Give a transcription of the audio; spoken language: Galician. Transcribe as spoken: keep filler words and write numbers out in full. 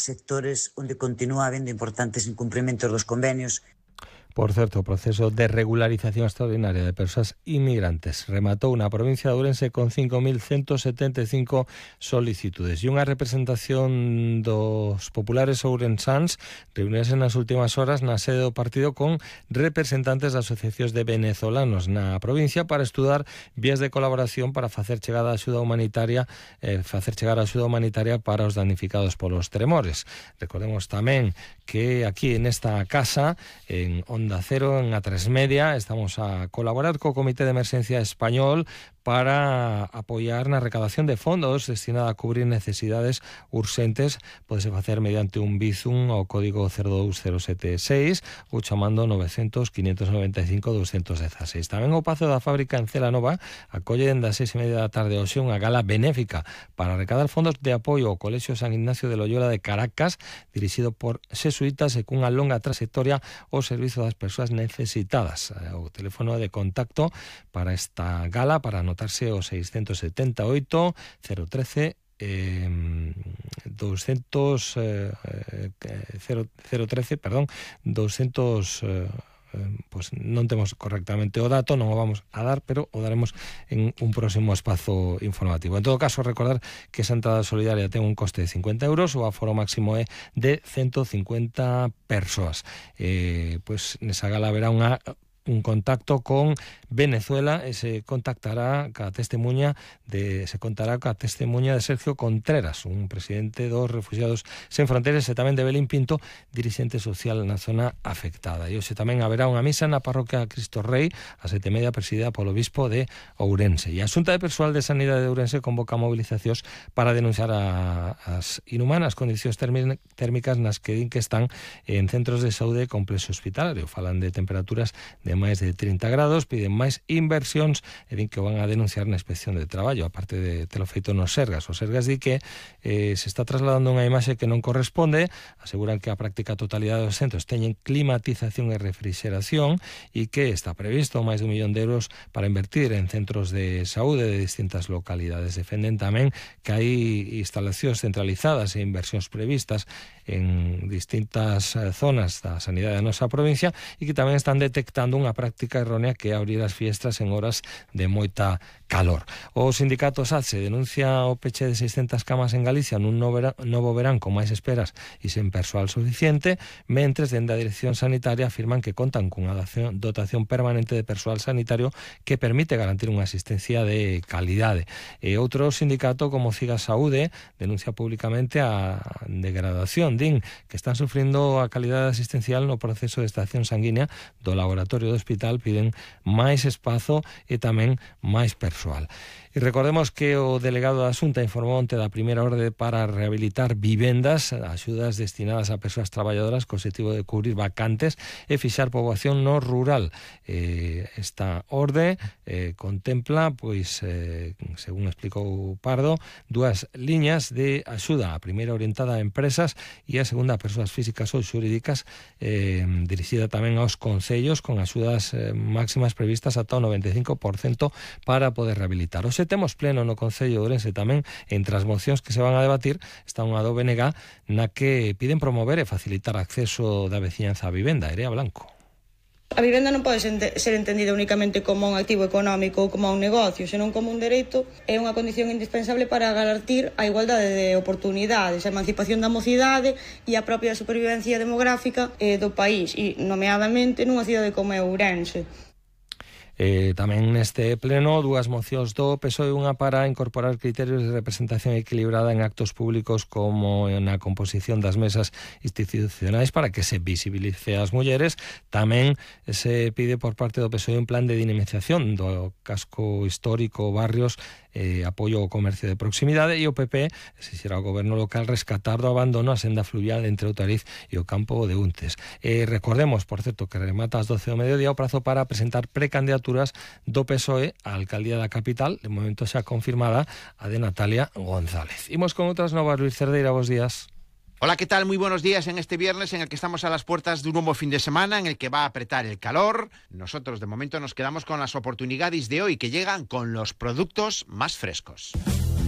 sectores onde continúa habendo importantes incumprimentos dos convenios. Por certo, o proceso de regularización extraordinaria de persoas inmigrantes rematou na provincia de Ourense con cinco mil ciento setenta e cinco solicitudes e unha representación dos populares ourensáns reunirse nas últimas horas na sede do partido con representantes das asociacións de venezolanos na provincia para estudar vías de colaboración para facer chegar a axuda humanitaria eh, facer chegar a axuda humanitaria para os damnificados polos tremores. Recordemos tamén que aquí nesta casa, en Onda Cero, en A tres Media, estamos a colaborar co Comité de Emerxencia Español para apoiar na recadación de fondos destinada a cubrir necesidades urxentes. Podese facer mediante un bizum ao código cero dous cero sete seis ou chamando novecientos, quinientos noventa e cinco, doscientos dieciséis. Tamén o Pazo da Fábrica en Celanova acolle dende as seis e media da tarde hoxe unha gala benéfica para recadar fondos de apoio ao Colexio San Ignacio de Loyola de Caracas, dirixido por xesuítas e cunha longa trayectoria ao servizo das persoas necesitadas. O teléfono de contacto para esta gala, para anotarse o seiscentos setenta e oito, cero trece, Eh, doscientos eh, cero, cero trece, perdón, doscientos eh, pois non temos correctamente o dato, non o vamos a dar, pero o daremos en un próximo espazo informativo. En todo caso, recordar que esa entrada solidaria ten un coste de cincuenta euros, o aforo máximo é de ciento cincuenta persoas. Eh, pois nesa gala haberá unha un contacto con Venezuela e se contactará ca testemunha de se contará ca testemunha de Sergio Contreras, un presidente dos Refugiados Sen Fronteiras, e tamén de Belín Pinto, dirixente social na zona afectada. E hoxe tamén haberá unha misa na parroquia Cristo Rei a sete e media, presidida polo bispo de Ourense. E a Xunta de Persoal de Sanidade de Ourense convoca mobilizacións para denunciar a, as inhumanas condicións térmicas nas que din que están en centros de saúde e complexo hospitalario. Falan de temperaturas de máis de trinta grados, piden máis inversións e din que van a denunciar na inspección de traballo, aparte de telo feito nos Sergas. Os Sergas di que eh, se está trasladando unha imaxe que non corresponde, aseguran que a práctica totalidade dos centros teñen climatización e refrigeración e que está previsto máis de un millón de euros para invertir en centros de saúde de distintas localidades. Defenden tamén que hai instalacións centralizadas e inversións previstas en distintas zonas da sanidade da nosa provincia e que tamén están detectando unha práctica errónea que é abrir as fiestras en horas de moita calor. O sindicato SATSE denuncia o peche de seiscentas camas en Galicia nun novo verán con máis esperas e sen persoal suficiente, mentres dende a Dirección Sanitaria afirman que contan cunha dotación permanente de persoal sanitario que permite garantir unha asistencia de calidade. E outro sindicato como Ciga Saúde denuncia públicamente a degradación, din que están sufrindo a calidade asistencial no proceso de extracción sanguínea do laboratorio do hospital, piden máis espazo e tamén máis persoal. E recordemos que o delegado da Xunta informou onte da primeira orde para rehabilitar vivendas, axudas destinadas a persoas traballadoras co objetivo de cubrir vacantes e fixar poboación no rural. Eh, esta orde eh, contempla, pois, eh, según explicou Pardo, dúas liñas de axuda. A primeira orientada a empresas e a segunda a persoas físicas ou xurídicas, eh, dirixida tamén aos concellos con axudas eh, máximas previstas ata o noventa e cinco por cento para poder rehabilitar. Hoxe temos pleno no Concello de Ourense tamén. Entre as mocións que se van a debatir está unha do B N G na que piden promover e facilitar acceso da veciñanza á vivenda. Erea Blanco. A vivenda non pode ser entendida únicamente como un activo económico ou como un negocio, senón como un dereito. É unha condición indispensable para garantir a igualdade de oportunidades, a emancipación da mocidade e a propia supervivencia demográfica eh, do país, e nomeadamente nunha cidade como é Ourense. Eh, tamén neste pleno dúas mocións do P S O E, unha para incorporar criterios de representación equilibrada en actos públicos como na composición das mesas institucionais para que se visibilice as mulleres. Tamén se pide por parte do P S O E un plan de dinamización do casco histórico, barrios, eh, apoio ao comercio de proximidade, e o P P exixirá ao goberno local rescatar do abandono a senda fluvial entre Outariz e o campo de Untes. Eh, recordemos, por certo, que remata ás doce do mediodía o prazo para presentar precandidaturas do P S O E á alcaldía da capital, de momento xa confirmada a de Natalia González. Imos con outras novas. Luis Cerdeira, bos días. Hola, ¿qué tal? Muy buenos días en este viernes en el que estamos a las puertas de un nuevo fin de semana en el que va a apretar el calor. Nosotros de momento nos quedamos con las oportunidades de hoy que llegan con los productos más frescos.